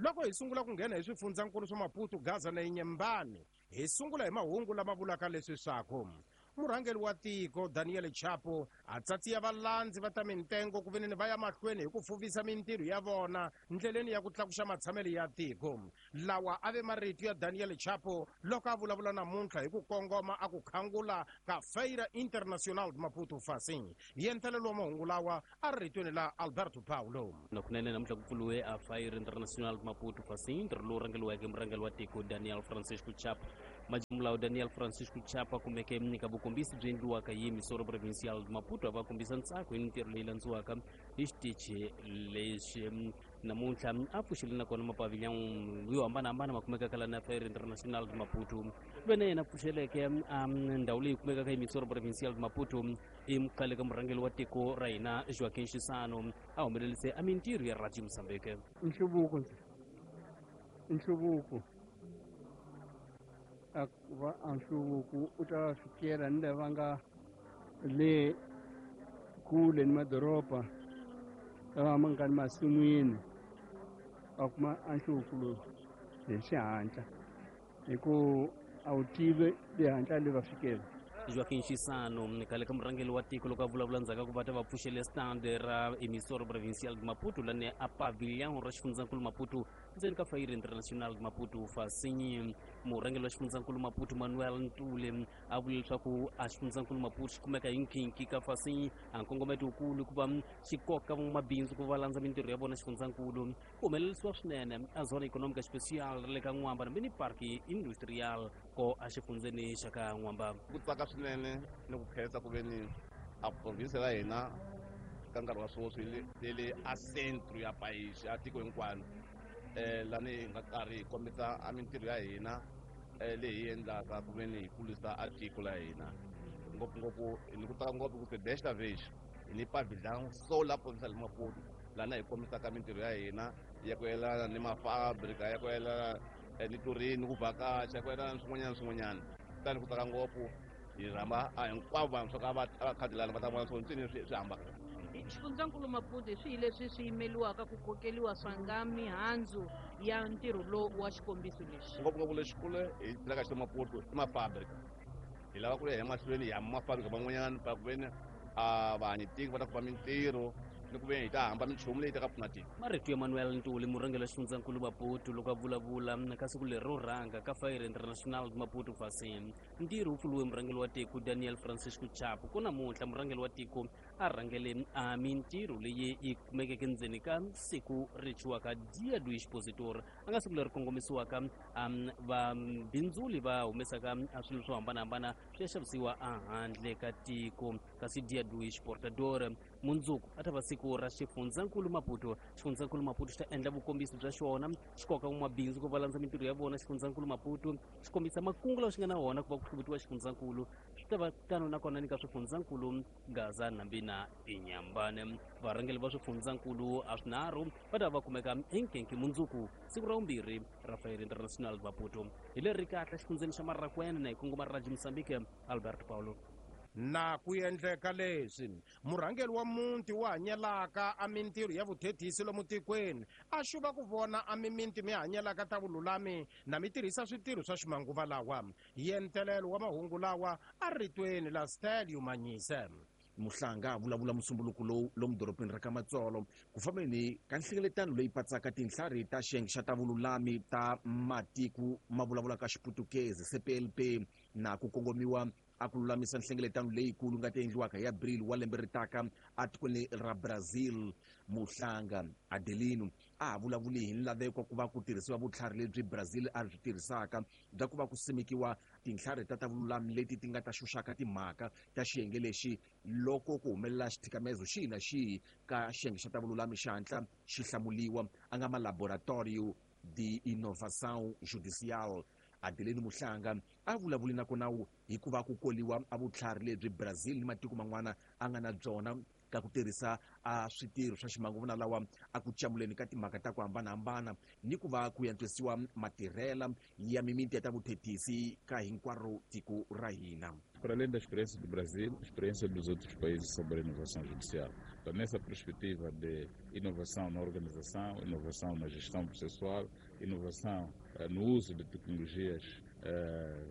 Loko hi sungula ku nghena hi swifundzankulu swa Maputo, Gaza na Inhambane, hi sungula hi mahungu lama vulaka leswi swaku murhangeri wa tiko Daniel Chapo a tsatsiya valandzi va ta mintengo ku veneni va ya mahlweni hi ku fuvisa mintirho ya vona ndleleni ya ku tlakuxa matshamelo ya tiko. Lawa a ve marito ya Daniel Chapo loko a vulavula namuntlha hi ku kongoma a ku khangula ka Feira Internacional de Maputo Facim. Yentelelo wa mahungu lawa a ri ritweni la Alberto Paulo. Na kunene namuntlha ku pfuriwe a Feira Internacional de Maputo Facim, ntirho lowu rhangeriweke murhangeri wa tiko Daniel Francisco Chapo. Majimulawu Daniel Francisco Chapo a kumeke eka vukombisi byi endliwaka hi Emissora Provincial de Maputo a va kombisa ntsako hi mintirho leyi landziwaka hi xitichi lexi. Namuntlha a pfuxile nakona mapavilhão yo hambanahambana ma kumekaka la na Feira Internacional de Maputo. Ve na yena pfuxeleke ndhawu leyi kumekaka Emissora Provincial de Maputo i khale ka murhangeri wa tiko ra hina Joaquim Chissano a humelelise a mintirho ya Radio Mozambique. Nhluvuko nhluvuko a va a nhluvuko u ta fikela ni lava nga le kule ni madoroba lava ma nga ni masin'wini va kuma a nhluvuko lowu hi xihatla hi ku a wu tivi le hatla le va fikela. Joaquim Chissano khale ka murhangeri wa tiko loko a vulavula ndzhaku ka ku va ta va pfuxele stand ra Emissora Provincial de Maputo lani a pavilhão ra xifundzankulu Maputo ndzeni ka Feira Internacional de Maputo Fasinyi. Murhangeri wa xifundzankulu Maputo Manuel Ntule a vule leswaku a xifundzankulu Maputo xi kumeka hi nkhinkhi ka Fasinyi a nkongometo wukulu ku va xi koka van'wamabindzu ku va landza mintirho ya vona xifundzankulu. Ku humelerisiwa swinene a zona economica especial ra le ka N'wamba na mini park industrial ko a xifundzeni xa ka N'wamba. Ku tsaka swinene ni ku khensa ku ve ni a province ya hina ka nkarhi wa sweswi yi le a centro ya país ya tiko hinkwaro, lani hi nga karhi hi kombisa a mintirho ya hina leyi hi endlaka ku ve ni hi kulisa a tiko la hina, ngopfungopfu ni ku tsaka ngopfu ku se desta vez hi ni pavilhão solar provincial de Maputo lana hi kombisaka mintirho ya hina ya ku yelana ni mafabrika, ya ku yelana ni tourism, ni ku vhakacha, ya ku yelana ni swin'wanyana ni swin'wanyana. Kutani ku tsaka ngopfu hi rhamba a hinkwavo vanhu swa ka va va khadi lani va ta vona swo ntsini swi hambana. Xifundzankulu Maputo hi swihi leswi swi yimeliwaka ku kokeliwa swa nga mihandzu ya ntirho lowu wa xikombiso lexi? Ngopfungopfu lexikulu hi tirhaka xi Maputo i mafabrika. Hi lava ku ya emahlweni hi hamba mafabrika van'wanyana pa ku veni a vahanyi tiko va ta kuma mintirho ni ku veni hi ta hamba minchumu leyi ta ka pfuna tiko. Marito ya Manuel Ntuli murhangeri wa xifundzankulu Maputo loko a vulavula ka siku leri ro rhanga ka Feira Internacional de Maputo Facim. Ntirho wu pfuriwe murhangeri wa tiko Daniel Francisco Chapo ku namuntlha murhangeri wa tiko a rhangele a mintirho leyi yi kumekeke ndzeni ka siku ri thyiwaka Dia do Expositor, a nga siku leri kongomisiwaka vabindzuli va humesaka swilo swo hambanahambana swi ya xavisiwa ehandle ka tiko. Kasi Dia do Exportador mundzuku a ta va siku ra xifundzankulu Maputo. Xifundzankulu Maputo xi ta endla vukombisi bya xona, xi koka van'wamabindzu ku va landza mintirho ya vona. Xifundzankulu Maputo xi kombisa makungu lawa xi nga na wona ku va ku hluvutiwa xifundzankulu. Swi ta va tano nakona ni ka swifundzankulu Gaza, Nambi na Inhambane. Varhangeri va swifundzankulu a swinharhu va ta va kumeka hi nkenke mundzuku siku ra vumbirhi ra Feira Internacional de Maputo. Hi leri kahle xifundzeni xa Marracuene na hi kongoma Radio Mozambique, Alberto Paulo. Na ku endleka leswi murhangeri wa muti wa hanyelaka a mintirho ya vuthethisi lomu tikweni a xuva ku vona a miminti mi hanyelaka ta vululami na mi tirhisa switirho swa ximanguva lawa. Yentelelo wa mahungu lawa a ritweni la Stelio Manyise. Muhlanga a vulavula musumbuluko lowu lomu dorobeni ra ka Matsolo ku fambeni ka nhlengeletano leyi patsaka tinhlari ta xiyenge xa ta vululami ta matiko ma vulavulaka Xiputukezi CPLP na ku kongomiwa a ku lulamisa nhlengeletano leyikulu nga ta endliwaka hi April wa lembe ri taka etikweni ra Brazil. Muhlanga Adelino a ha vulavuli hi nlaveko ku va ku tirhisiwa vutlhari lebyi Brazil a byi tirhisaka bya ku va ku simekiwa tintlhari ta ta vululami leti ti nga ta xuxaka timhaka ta xiyenge lexi loko ku humelela xithikamezo xihi na xihi ka xiyenge xa ta vululami xi hatla xi hlamuliwa, a nga ma Laboratorio de Inovação Judicial. Adelino Muhlanga a vulavuli nakona hikuva ku koliwa a vutlhari lebyi Brazil ni matiko man'wana a nga na byona ka ku tirhisa a switirho swa ximanguva lawa a ku camuleni ka timhaka ta ku hambanahambana ni ku va ku antswisiwa matirhela ya mimiti ya ta vuthethisi ka hinkwaro tiko ra hina. Para além da experiência do Brasil, a experiência dos outros países sobre a inovação judicial. Então, nessa perspectiva de inovação na organização, inovação na gestão processual, inovação no uso de tecnologias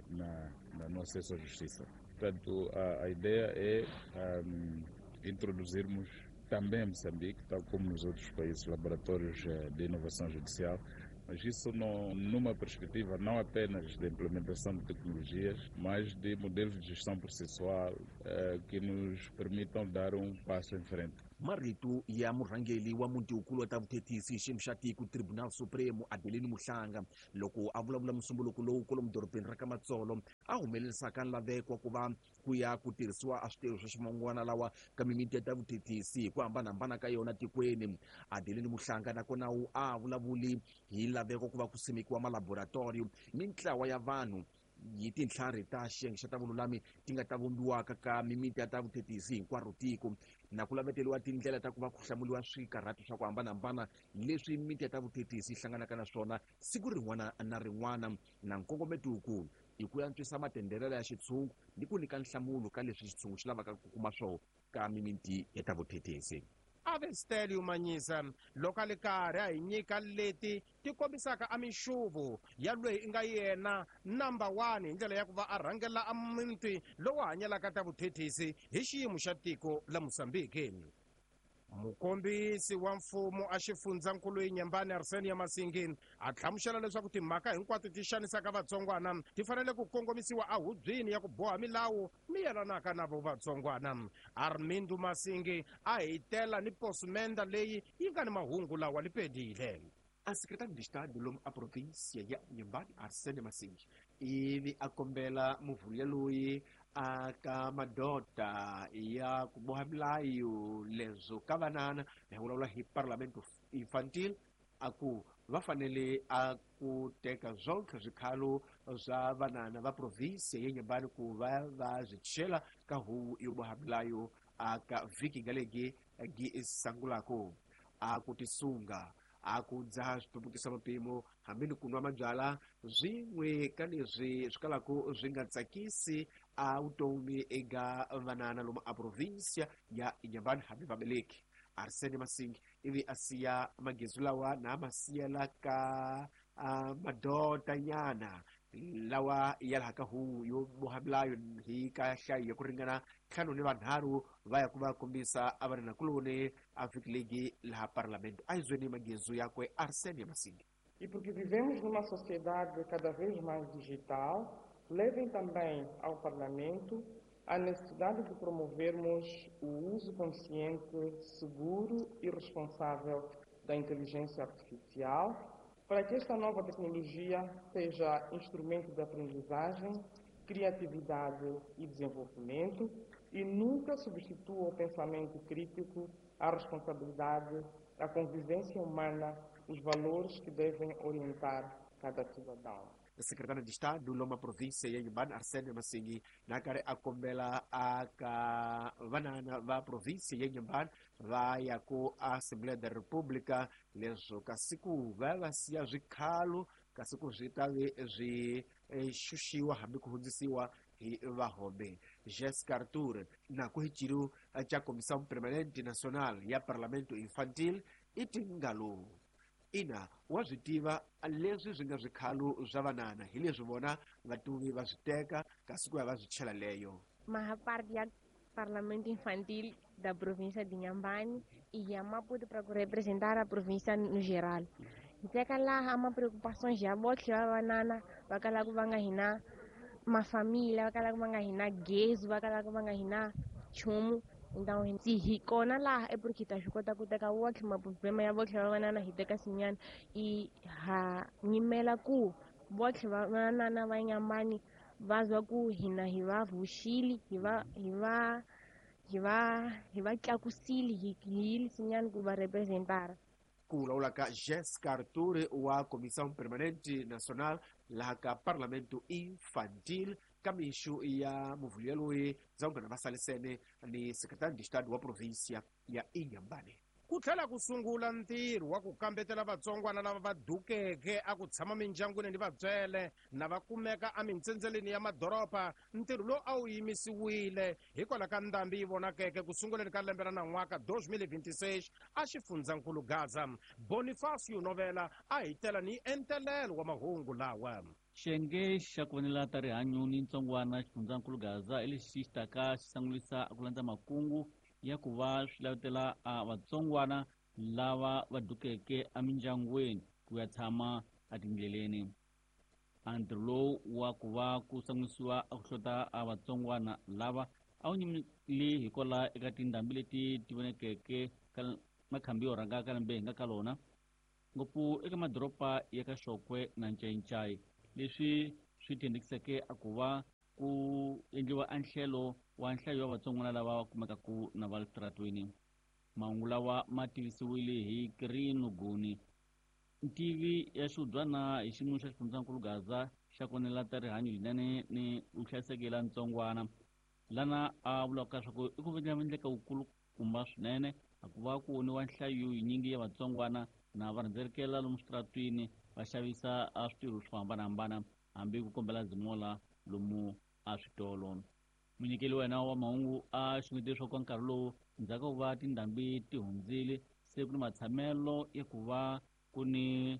no acesso à justiça. Portanto, a ideia é introduzirmos também em Moçambique, tal como nos outros países, laboratórios de inovação judicial, mas isso numa perspectiva não apenas de implementação de tecnologias, mas de modelos de gestão processual que nos permitam dar um passo em frente. Marito ya murhangeri wa muti-wukulu wa ta vuthethisi xiyimo xa tiko Tribunal Supremo Adelino Muhlanga loko a vulavula musumbuluko lowu kwalomu dorobeni ra ka Matsolo a humelerisaka nlaveko wa ku va ku ya ku tirhisiwa a switirho swa ximangwana lawa ka mimiti ya ta vuthethisi hi ku hambanahambana ka yona tikweni. Adelino Muhlanga nakona wu a vulavuli hi laveko ku va ku simekiwa malaboratoriyo mintlawa ya vanhu hi tintlhari ta xiyenge xa ta vululami ti nga ta vumbiwaka ka mimiti ya ta vuthethisi hinkwaro tiko na ku laveteriwa tindlela ta ku va ku hlamuriwa swikarhato swa ku hambanahambana leswi mimiti ya ta vuthethisi yi hlanganaka na swona siku rin'wana na rin'wana na nkongometo wukulu i ku antswisa matenderelo ya xitshungu ni ku nyika nhlamulo ka leswi xitshungu xi lavaka ku kuma swona ka mimiti ya ta vuthethisi. Avestelio Manyisa loko a li karhi a hi nyika leti ti kombisaka a minxuvu ya loyi i nga yena number 1 hi ndlela ya ku va a rhangela a muti lowu hanyelaka ta vuthethisi hi xiyimo xa tiko la Mozambique. Mukombisi wa mfumo a xifundzankulu Inhambane Arsenio Masingi a hlamusela leswaku timhaka hinkwato ti xanisaka vatsongwana ti fanele ku kongomisiwa ehubyeni ya ku boha milawu mi yelanaka na vo vatsongwana. Armindo Masingi a hitela ni posmenda leyi yi nga ni mahungu lawa lipedile. A secretário de Estado lomu a província ya Inhambane Arsenio Masingi ivi a kombela muvhuya loyi aka madota ya ku boha milayo leswo ka vanana hi vulavula hi Parlamento Infantil a ku va fanele a ku teka zonke swikhalo swa vanana va província ya Inhambane ku va va swi chela ka huvo yo boha milayo aka vhiki nga legi gi sangulako a ku tisunga a ku dzaha switumbukisa mapimo hambi ni ku nwa mabyala swin'we ka leswi swi kalaka swi nga tsakisi a vutomi eka vanana lomu a província ya Inhambane hambi vabeleki. Arsenio Masingi ivi a siya magezi lawa na ma siyela ka madotanyana lawa ya laha ka huvo yo boha milayo hi ka nhlayo ya ku ringana 5 ni vanharhu va ya ku va kombisa a vananakuloni a vhiki legi laha parlamento. A hi zweni magezu yakwe Arsenio Masingi. E porque vivemos numa sociedade cada vez mais digital, levem também ao Parlamento a necessidade de promovermos o uso consciente, seguro e responsável da inteligência artificial, para que esta nova tecnologia seja instrumento de aprendizagem, criatividade e desenvolvimento e nunca substitua o pensamento crítico, a responsabilidade, a convivência humana, os valores que devem orientar cada cidadão. Secretário de Estado loma província ya Inhambane Arsenio Masingi na karhi a kombela aka vanana va província ya Inhambane va ya ku Assembleia da República leswo kasi ku va va siya swikhalo kasi ku swi ta ve swi xuxiwa hambi ku hundzisiwa hi vahombe. Jessica Arthur na ku hi ciro xa Comissão Permanente Nacional ya Parlamento Infantil i tingalo ina wa swi tiva leswi swi nga swikhalo swa vanana hi leswi vona vatuvi va swi teka kasi ku ya va swi chela leyo. Maha parte ya Parlamento Infantil da província de Inhambane e a Maputo para representar a província no geral. Teka laha ma preocupações ya botlhe va vanana va kalaka va nga hina mafamília, va kalaka va nga hina gezi, va kalaka va nga hina nchumu. Então, se hi kona laha é porque ta swi kota ku teka wotlhe maproblema ya votlhe va vanana hi teka sinyana i ha nyimela ku votlhe va vanana va Inhambane va zwa ku hina hi va vuxile hi va tlakusile hi yile sinyana ku va representara. Ku vulavula ka Jessica Arthur wa Comissão Permanente Nacional laha ka Parlamento Infantil ka mixo ya muvhuya loyi dzawungana va salisene ni secretário de Estado wa província ya Inhambane. Ku tlhela ku sungula ntirho wa ku kambetela vatsongwana lava va dukeke a ku tshama mindyangwini ni vatswele na va kumeka emintsendzeleni ya madoroba. Ntirho lowu a wu yimisiwile hikwalaho ka ndhambi yi vonakeke ku sunguleni ka lembe ra nan'waka 2026 a xifundzankulu Gaza. Bonifacio Novela a hi tela ni entelelo wa mahungu lawa. Xiyenge xa ku vonela ta rihanyo ni ntsongwana xifundzankulu Gaza hi lexi xi taka xi sangulisa ku landza makungu ya ku va swi lavetela a vatsongwana lava va dukeke emindyangwini ku ya tshama etindleleni. A ntirho lowu wa ku va ku sangulisiwa a ku hlota a vatsongwana lava a wu nyimile hikwalaho eka tindhambi leti ti vonekeke ka makhambi yo rhanga ka lembe hi nga ka lona, ngopfu eka madoroba ya ka Xokwe na Ncayincai, leswi swi thendekiseke a ku va ku endliwa anhlelo wa nhlayo ya vatsongwana lava va kumekaku na va le switaratweni. Mahungu lawa ma tivisiwile hi Kirino Guni, ntivi ya xihubyana hi xiyimo xa xifundzankulu Gaza xa ku vonela ta rihanyo linene ni vuhlayiseki la ntsongwana, lana a vulaka leswaku i ku endleka wukulukumba swinene a ku va ku voniwa nhlayo yinyingi ya vatsongwana na va rhendzelekela lomu switaratwini va xavisa a switirho swo hambanahambana hambi ku kombela zimola lomu a switolo. Munyikeli wa hina wa mahungu a xungete leswaku ka nkarhi lowu ndzhaku ka ku va tindhambi ti hundzile se ku ni matshamelo ya ku va ku ni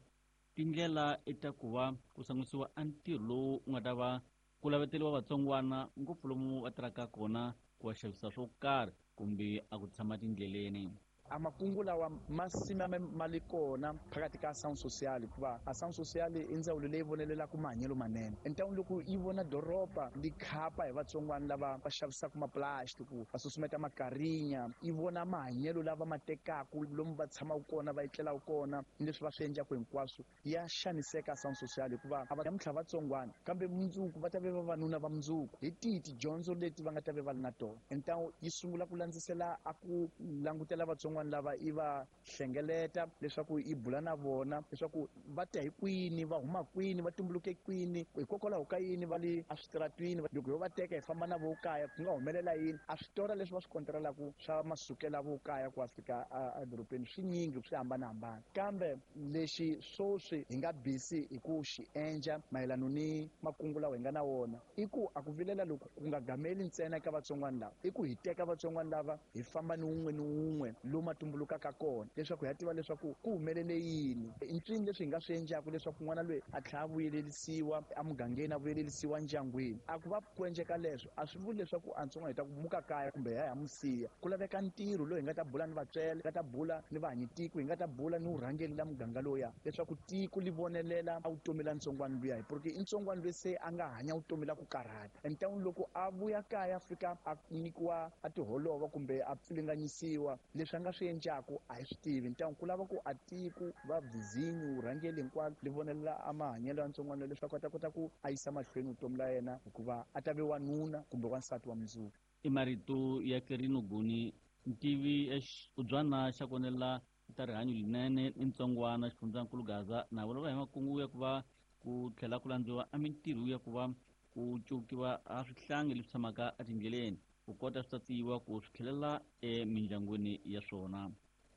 tindlela ta ku va ku sangisiwa a ntirho lowu wu nga ta va ku laveteriwa vatsongwana ngopfu lomu va tirhaka kona ku va xavisa swo karhi kumbe a ku tshama tindleleni. A makungu lawa ma simame ma li kona phakathi ka Ação Social, hikuva Ação Social i ndzawulo leyi vonelelaka mahanyelo manene. Entawini loko yi vona doroba li khapa hi vatsongwana lava va xavisaka maplastiki, va susumeta makarinya, yi vona mahanyelo lava ma tekaku lomu va tshamaka kona, va etlelaka kona, ni leswi va swi endlaka hinkwaswo, ya xaniseka Ação Social, hikuva a va namuntlha vatsongwana kambe mundzuku va ta ve vavanuna va mundzuku. Hi tihi tidyondzo leti va nga ta ve va ri na tona? Entawu yi sungula ku landzisela a ku langutela vatsongwana lava, i va hlengeleta leswaku i bula na vona leswaku va ta hi kwini, va huma kwini, va tumbuluke kwini, hikokwalaho ka yini va le eswitaratwini. Loko ho va teka hi famba na vo kaya ku nga humelela yini? A switora leswi va swi kontrelaku swa masukela vo kaya ku ya fika edorobeni swi nyingi, swi hambanahambana. Kambe lexi sweswi hi nga busy hi ku xi endla mayelana ni makungu lawa hi nga na wona i ku a ku vilela loko ku nga gameli ntsena eka vatsongwana lava, i ku hi teka vatsongwana lava hi famba ni wun'we ni wun'we lomu a tumbulukaka kona leswaku hi ya tiva leswaku ku humelele yini, i ntswini leswi hi nga swi endlaka leswaku n'wana loyi a tlhela a vuyelelisiwa emugangeni, a vuyelelisiwa ndyangwini. A ku va ku endleka leswo a swi vuli leswaku a ntsongwana hi ta ku muka kaya kumbe hi ya hi mu siya. Ku laveka ntirho lowu hi nga ta bula ni vatswele, hi nga ta bula ni vahanyitiko, hi nga ta bula ni vurhangeri la muganga lowuya leswaku tiko li vonelela a vutomi la ntsongwana luya, porque i ntsongwana loyi se a nga hanya vutomi la ku karhata. Entawini loko a vuya kaya a fika a nyikiwa a tiholova kumbe a pfilinganyisiwa, leswi a nga swi endlaku a hi swi tivi. Ntawini ku lava ku a tiko va vizinyu vurhangeri hinkwalo li vonelela a mahanyelo ya ntsongwana leswaku a ta kota ku a yisa mahlweni vutomi la yena, hikuva a ta ve wanuna kumbe wansati wa mundzuku. I marito ya Kerino Guni, ntivi ya xiubyana xa ku vonela ta rihanyo linene ni ntsongwana xifundzankulu Gaza, na vulavula hi makungu ya ku va ku tlhela ku landziwa a mintirho ya ku va ku cukiwa a swihlangi leswi tshamaka etindleleni ku kota swi tatiwa ku swi tlhelela emindyangwini ya swona.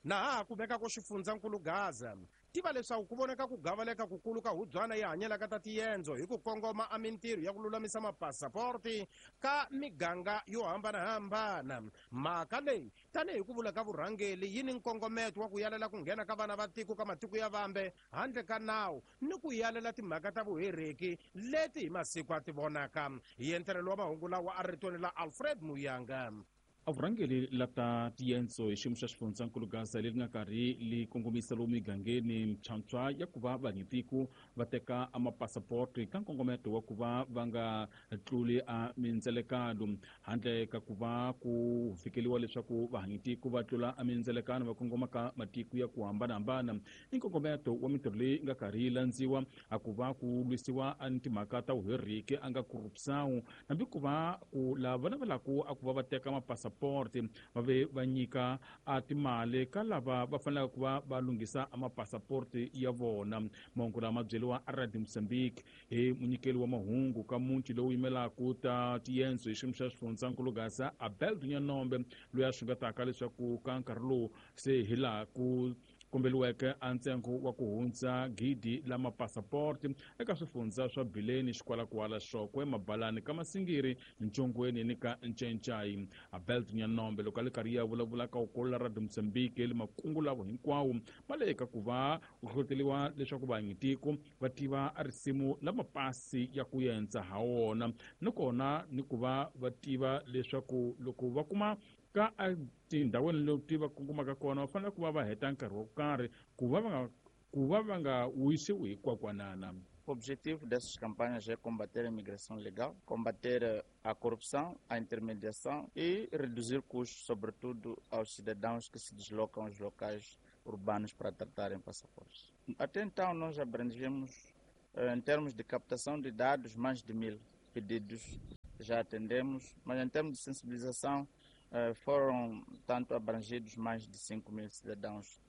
Na ha ku veka ku xifundzankulu Gaza, tiva leswaku ku vonaka ku gavaleka kukulu ka hubyana yi hanyelaka ta tiendzo hi ku kongoma a mintirho ya ku lulamisa mapasaporti ka miganga yo hambanahambana. Mhaka leyi tanihi ku vula ka vurhangeli yi ni nkongometo wa ku yalela ku nghena ka vana va tiko ka matiko ya vambe handle ka nawu ni ku yalela timhaka ta vuhereki leti hi masiku a ti vonaka. Hi entelelo wa mahungu lawa a ritweni la Alfred Muyanga. A vurhangeri la ta tiendzo hi xiyimo xa xifundzankulu Gaza leri nga karhi li kongomisa lomu migangeni mphyamphya ya ku va vanyitiko va teka a mapasaporti ka nkongometo wa ku va va nga tluli a mindzelekano, handle ka ku va ku fikeliwa leswaku vahanyitiko va tlula a mindzelekano va kongoma ka matiko ya ku hambanahambana. I nkongometo wa mintirho leyi nga karhi yi landziwa a ku va ku lwisiwa a ni timhaka ta vuheriki a nga corruption, hambi ku va ku lava va navelaka a ku va va teka mapasaporti mapasaporti va ve va nyika a timali ka lava va fanelaka ku va va lunghisa a mapasaporti ya vona. Mahungu lama byeriwa a Radio Mozambique hi munyikeli wa mahungu ka muti lowu yimelaka ta tiyendzo hi xiyimo xa xifundzankulu Gaza Abel Dunyanombe loyi a xungetaka leswaku ka nkarhi lowu se hi laha ku kombeliweke a ntsengo wa ku hundza 1,000 la mapasaporti eka swifundza swa Bileni, Xikwalakwala, Xokwe, Mabalani, ka Masingiri, Ntshongweni ni ka Ncencai. Abel Dunyanombe loko a le karhi ya vulavula ka ukolola Radio Mozambique le makungu lavo hinkwawo ma le ka ku va ku hlohloteliwa leswaku vanyitiko va tiva a risimu la mapasi ya ku yendza ha wona ni kona ni ku va va tiva leswaku loko va kuma ka a tindhawini leti va kongomaka kona va fanele ku va va heta nkarhi wo karhi ku va va nga wisiwi hi kwakwanana. O objetivo dessas campanhas é combater a imigração legal, combater a corrupção, a intermediação e reduzir custos, sobretudo aos cidadãos que se deslocam aos locais urbanos para tratarem passaportes. Até então, nós abrangemos, em termos de captação de dados, mais de 1.000 pedidos já atendemos, mas em termos de sensibilização, foram tanto abrangidos mais de 5.000 cidadãos,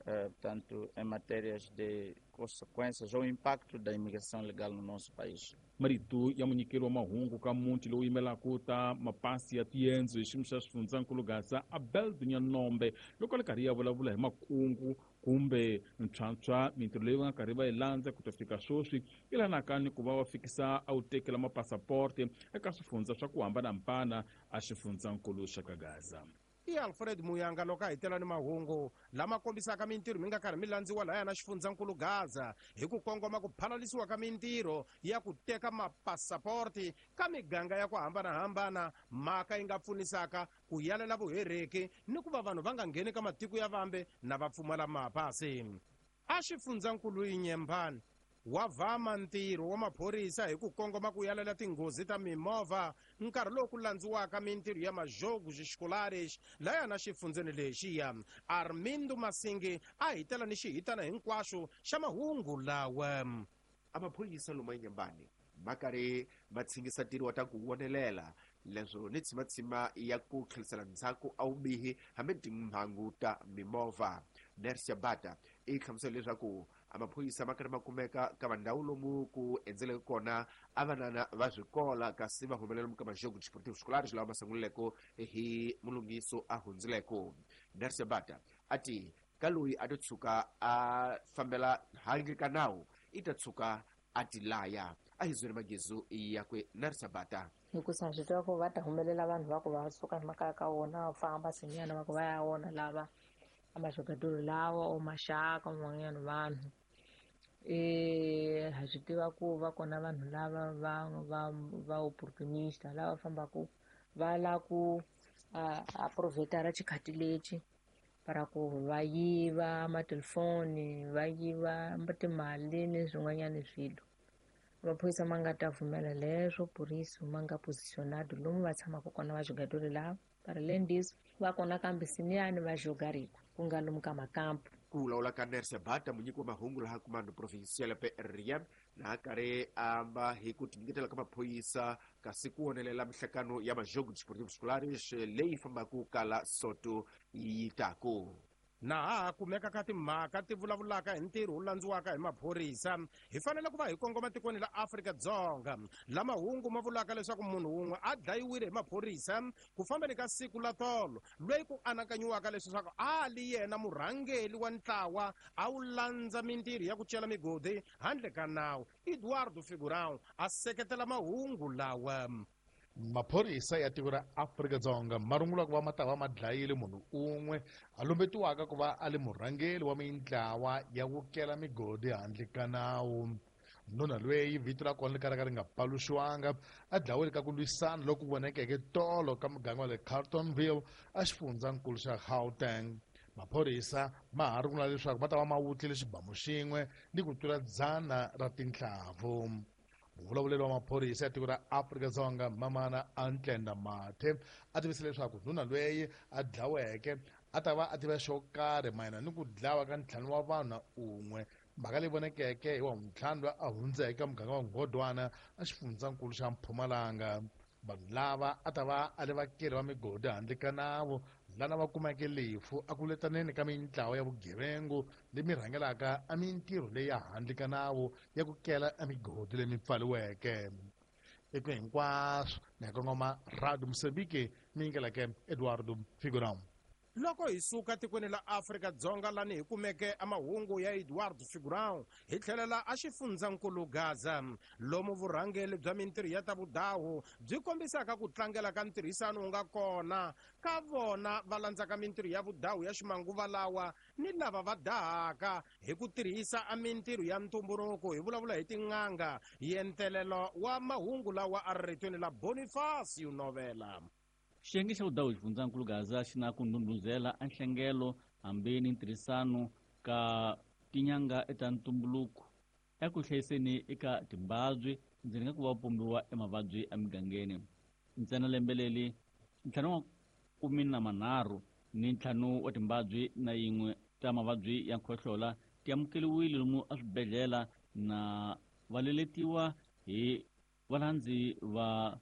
portanto, em matérias de consequências ou impacto da imigração legal no nosso país. Marito ya munyikeri wa mahungu ka muti lowu yimelaka ta mapasi ya tiyendzo hi xiyimo xa xifundzankulu Gaza Abel Dunyanombe loko a le karhi ya vulavula hi makungu kumbe ntshwantshwa mintirho leyi va nga karhi va yi landza ku ta fika sweswi yi lanaka ni ku va va fikisa a wu tekela mapasaporti eka swifundza swa ku hambanahambana a xifundzankulu xa ka Gaza. I Alfred Muyanga loko a hitela ni mahungu lama kombisaka mintirho mi nga karhi mi landziwa laya na xifundzankulu Gaza hi ku kongoma ku phalalisiwa ka mintirho ya ku teka mapasaporti ka miganga ya ku hambanahambana, mhaka yi nga pfunisaka ku yalela vuhereki ni ku va vanhu va nga ngheni ka matiko ya vambe na va pfumala mapasi. A xifundzankulu Inyembani wa vhama ntirho wa maphorisa hi ku kongoma ku yalela tinghozi ta mimovha nkarhi lowu ku landziwaka mintirho ya majogos escolares laya na xifundzeni lexiya. Armindo Masingi a hitela ni xihitana hinkwaxo xa mahungu lawa. A maphorisa lomu Inyembani ma karhi ma tshingisa ntirho wa ta ku vonelela leswo ni tshimatsima ya ku tlherisela ndzhaku a vubihi hambi timhangu ta mimovha. Nersia Bata i hlamusela leswaku a maphorisa ma karhi ma kumeka ka vandhawu lomu ku endzeleke kona a vanana va swikola kasi va humelela lomu ka majogo desportivo escolares lawa ma sungulileko hi mulunghiso a hundzileko. Nersia Bata a ti ka loyi a to tshuka a fambela handle ka nawu i ta tshuka a ti laya. A hi zweri magezu yakwe Nersia Bata. Hikusa swi tiva ku va ta humelela vanhu va ku va suka emakaya ka wona va famba swinene va ku va ya wona lava a majogadoro lawa o maxaka van'wanyana vanhu ha swi tiva ku va kona vanhu lava va opportunista lava fambaka va la ku aproveitara xikhati lexi para ku va yiva matelefoni, va yiva timali ni swin'wanyana swilo. Maphorisa ma nga ta pfumela leswo puriso ma nga positionado lomu va tshamaka kona vajogadori lava para além disso va kona kambe siniyani va jogariko ku nga lomu ka makampu. Ku vulavula ka Nersia Bata munyiki wa mahungu laha Comando Provincial PRM na karhi amba hi ku tinyiketela ka maphorisa kasi ku vonelela mihlangano ya majogo desportivo escolares leyi fambaka kala Soto yi taku. Na ha kumeka ka timhaka ti vulavulaka hi ntirho wu landziwaka hi maphorisa hi fanele ku va hi kongoma tikweni la Afrika-Dzonga la mahungu ma vulaka leswaku munhu wun'we a dlayiwile hi maphorisa ku fambeni ka siku la tolo loyi ku anakanyiwaka leswaku a li yena murhangeli wa ntlawa a wu landza mintirho ya ku cela migodi handle ka nawu. Eduardo Figurão a seketela mahungu lawa. Maphorisa ya tiko ra Afrika-Dzonga ma rungula ku va ma ta va ma dlayile munhu un'we a lumbetiwaka ku va a li murhangeri wa mintlawa ya ku kela migodi handle ka nawu. Nuna loyi vito ra kona ri kalaka ri nga paluxiwanga a dlawile ka ku lwisana loku vonekeke tolo ka muganga wa le Carltonville a xifundzankulu xa Gauteng. Maphorisa ma ha rungula leswaku va ta va ma wutlile xibamu xin'we ni ku tlula 100 ra tinhlavu. Muvulavuleri wa maphorisa ya tiko ra Afrika-Dzonga Mamana Antlenda Mathe a tivise leswaku nuna loyi a dlaweke a ta va a tiva xo karhi mayelana ni ku dlawa ka 5 wa vanhu na un'we, mhaka leyi vonekeke hi wa ntlhanu loyi a hundzeke ka muganga wa Ngodwana a xifundzankulu xa Mpumalanga. Vanhu lava a ta va a le vakeli va migodi handle ka nawu lana va kumeke lefu a ku letaneni ka mintlawa ya vugevengu lemi rhangelaka a mintirho leyi ya handle ka nawu ya ku kela emigodi leyi pfaliweke. Eka hinkwaswo ni ya kongoma Radio Mozambique mi yingeleke Eduardo Figurão. Loko hi suka tikweni la Afrika-Dzonga lani hi kumeke amahungu ya Eduardo Figurão, hi tlhelela a xifundzankulu Gaza, lomu vurhangeli bya mintirho ya ta vudahu byi kombisaka ku tlangela ka ntirhisano wu nga kona ka vona va landzaka mintirho ya vudahu ya ximanguva lawa ni lava va dahaka hi ku tirhisa a mintirho ya ntumbuluko. Hi vulavula hi tin'anga. Yentelelo wa mahungu lawa a ri ritweni la Bonifacio Novela. Xiyenge xa vudahu xifundzankulu Gaza xi na ku ndhundhuzela a nhlengelo hambi ni ntirhisano ka tinyanga eta ntumbuluko eku hlayiseni eka timbabyi ndzeni ka ku va pombiwa emavabyi emigangeni. Ntsena lembe leri 535 wa timbabyi na yin'we ta mavabyi ya nkhohlola ti amukeriwile lomu eswibedhlele na va leletiwa hi valandzi va